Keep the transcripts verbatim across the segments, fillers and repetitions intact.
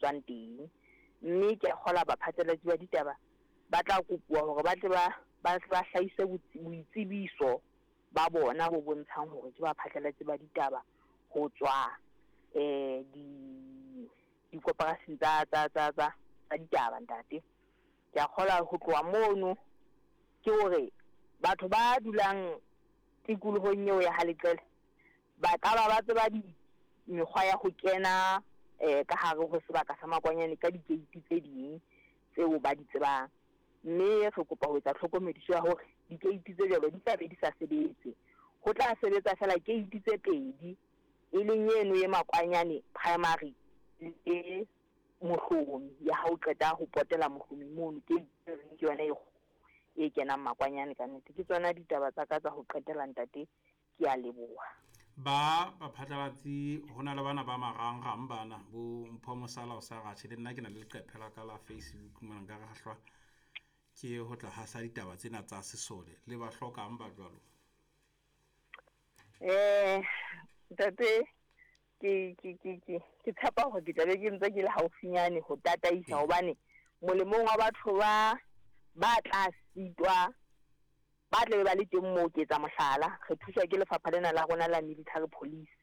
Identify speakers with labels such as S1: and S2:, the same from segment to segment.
S1: etswang teng. Mme ke a kgolwa baphatlalatsi ba ditaba ba tla kopuwa hore ba tle ba ba ba hlahise boitsebiso ba bona bo bontshang hore ke baphatlalatsi ba ditaba ho tswa eh di dikoporasing tsa tsa tsa tsa tsa ditaba ntate. Ke a kgolwa ho tloha mono ke hore batho ba dulang tikolohong eo ya ha Leqele ba ka ba ba tseba di mekgwa ya ho kena eh ka hare ho sebaka sa Makwanyane ka di-gate tse ding tseo ba di tsebang. Mme re kopa ho etsa tlhokomediso ya hore di-gate tse jwalo di tla be di sa sebetse. Ho tla sebetsa fela gate tse pedi, e leng eno e Makwanyane Primary le Mohlomi ya ha o qeta ho potela Mohlomi mono, ke ke yona e e kenang Makwanyane ka nnete. Ke tsona ditaba tsa ka tsa ho qetela ntate, ke a leboha.
S2: Ba baphatlalatsi ho na le bana ba marangrang bana bo Mpho Mosala o sa ratjhe le nna ke na le leqephe la ka la Facebook mona nka re hahlwa ke ho tla hasa ditaba tsena tsa sesole le ba hlokang ba jwalo.
S1: Eh ntate, ke ke ke ke ke tshepa hore ke tla be ke ntse ke le haufinyane ho tataisa hobane molemong wa batho ba ba tla sitwa ba tla be ba le teng moo. Ke etsa mohlala, re thuswa ke lefapha lena la rona la military police,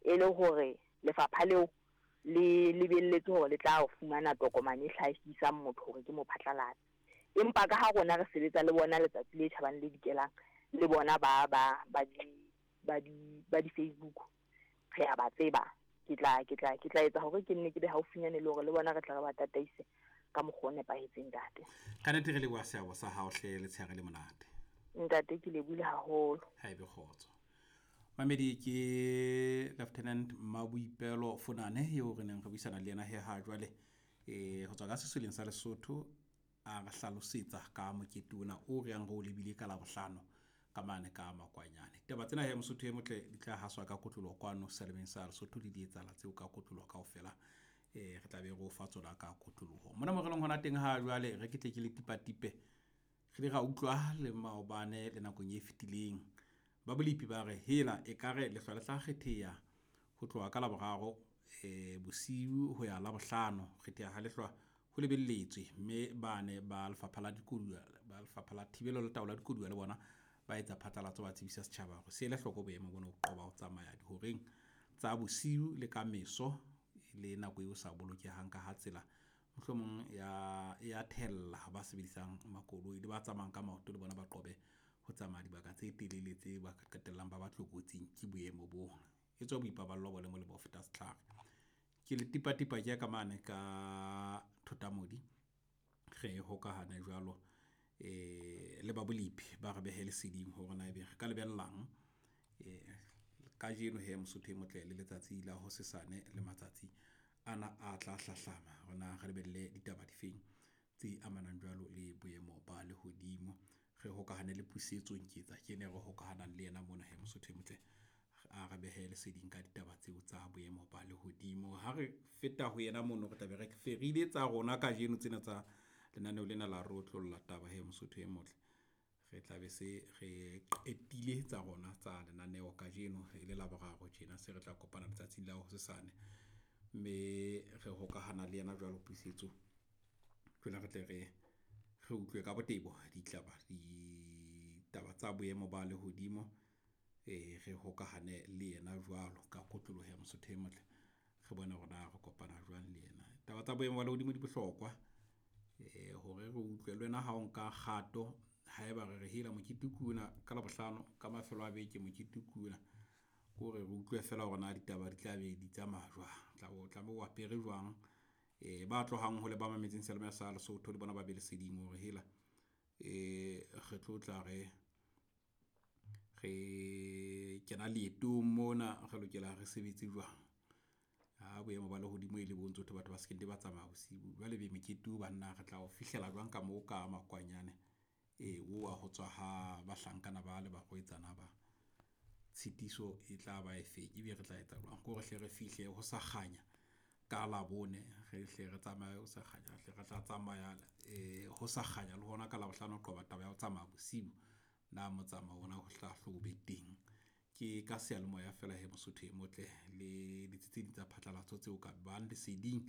S1: e le hore lefapha leo le lebelletse hore le tla fumana tokomane e hlahisang motho hore ke mophatlalatsi. Empa ka ha rona re sebetsa le bona letsatsi le tjhabang le dikelang le bona ba ba ba di ba di ba di Facebook, re a ba tseba. Ke tla ke tla ke tla etsa hore ke nne ke be haufinyane le hore le bona re tla re ba tataise ka mokgwa o nepahetseng ntate.
S2: Ka nnete re leboha seabo sa hao hle, letshehare le monate.
S1: Ntate ke lebohile haholo.
S2: Ha ebe kgotso. Mamedi ke Lieutenant Maboipelo Funane eo re neng re buisana le yena he ha jwale eh ho tswa ka sesoleng sa Lesotho, a re hlalosetsa ka mokete ona o re yang re o lebile ka Labohlano ka mane ka Makwanyane. Taba tsena he Mosotho e motle di tla haswa ka kotloloho kwano selemeng sa Lesotho le di etsahala tseo ka kotloloho kaofela. Eh re tla be re o fa tsona ka kotloloho. Mona mo re leng hona teng ha jwale re ke tle ke le tipatipe. Re ile ra utlwa le maobane le nakong e fetileng ba bolepi ba re hela ekare lehlwa le tla kgetheha ho tloha ka Laboraro eh bosiu ho ya Labohlano. Kgetheha ha lehlwa ho lebelletswe, mme bane ba lefapha la dikoduwa ba lefapha la thibelo le taolo ya dikoduwa le bona ba etsa phatlalatso, ba tsebisa setjhaba hore se ele hloko boemo bona ho qoba ho tsamaya dihoreng tsa bosiu le ka meso le nako eo sa bolokehang ka ha tsela mohlomong ya ya thella ba sebedisang makoloi le ba tsamayang ka maoto le bona ba qobe ho tsamaya dibaka tse telele tse ba ka qetellang ba ba tlokotsing ke boemo bona. E tswa boipaballo bo le molemo ho feta setlhare. Ke le tipatipa ke ya ka mane ka Thotamodi re hokahane jwalo eh le ba bolepi ba re behe leseding hore na ebe re ka lebellang eh kajeno he Mosotho e motle le letsatsi la hosesane le matsatsi ana a tla hlahlama hore na re lebelle ditaba difeng tse amanang jwalo le boemo ba lehodimo. Re hokahane le Pusetso Nketsa ke ene re hokahanang le yena mona he Mosotho e motle a re behe leseding ka ditaba tseo tsa boemo ba lehodimo. Ha re feta ho yena mono re tla be re ferile tsa rona kajeno tsena tsa lenaneo lena la re otlolla taba he Mosotho e motle. Re tla be se re qetile tsa rona tsa lenaneo kajeno e le Laboraro tjena se re tla kopana letsatsing la hosesane mme re hokahana le yena jwalo Pusetso jwale re tle re re utlwe ka botebo ditlaba ditaba tsa boemo ba lehodimo eh re hokahane le yena jwalo ka kotloloho ya Mosotho e motle re bone hore na re kopana jwang le yena. Taba tsa boemo ba lehodimo di bohlokwa eh hore re utlwe le wena ha o nka kgato haeba re re hela mokete ke ona ka Labohlano ka mafelo a beke mokete ke ona ke hore re utlwe fela hore na ditaba di tla be di tsamaya jwang, tla o tla be o apere jwang eh ba tlohang hole ba mametseng seyalemoya sa Lesotho le bona ba be leseding hore hela eh re tlo tla re re kena leetong mona re lokela re sebetse jwang ha boemo ba lehodimo e le bo ntso thwe batho ba se ke ba tsamaya bosiu jwale be mokete o banna re tla o fihlela jwang ka moo ka Makwanyane e o wa ho tswa ha bahlankana ba le barwetsana ba tshitiso e tla ba efeng ebe re tla etsa jwang ke hore hle re fihle ho sa kganya ka Labone re hle re tsamaye ho sa kganya hle re tla tsamaya eh ho sa kganya le hona ka Labohlano ho qoba taba ya ho tsamaya bosiu na motsamao ona ho tla hlo be teng ke ka seyalemoya fela he Mosotho e motle le ditsi tse ding tsa phatlalatso tseo ka bang leseding.